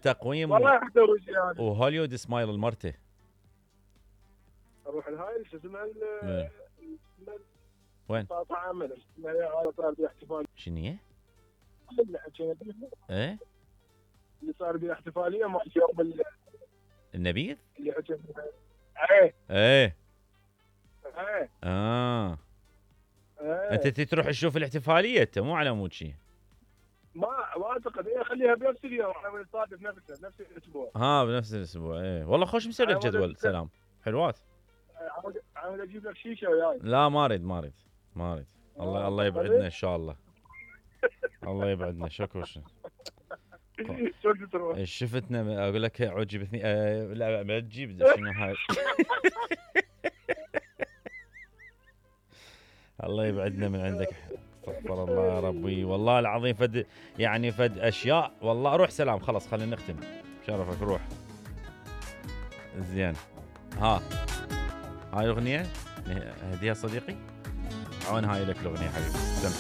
تقويم والله حتزوج يعني. وهوليوود سمايل المرته. اروح الهاي شو اسمها وين؟ قاطع عمل صار بها احتفال. شنو هي؟ ايه اللي صار بها احتفاليه مع يوم النبيذ؟ اللي حكيت ايه ايه ايه ايه انت تروح تشوف الاحتفاليه انت مو على مود شيء. ما اعتقد ايه خليها بنفس اليوم احنا نصادف نفس الاسبوع. بنفس الاسبوع. ايه والله خوش مسوي لك جدول. سلام حلوات. عاود اجيب لك شيشه وياي. لا ما اريد. الله يبعدنا ان شاء الله. الله يبعدنا. شكو شفتنا اقول لك عجبتني. لا ما تجيب شنو هاي. الله يبعدنا من عندك. استغفر الله يا ربي والله العظيم. فد اشياء والله. روح سلام خلاص خلينا نختم. شرفك روح. زين هاي الاغنيه هديها صديقي. عون هاي لك الاغنيه حبيبي. استمتع.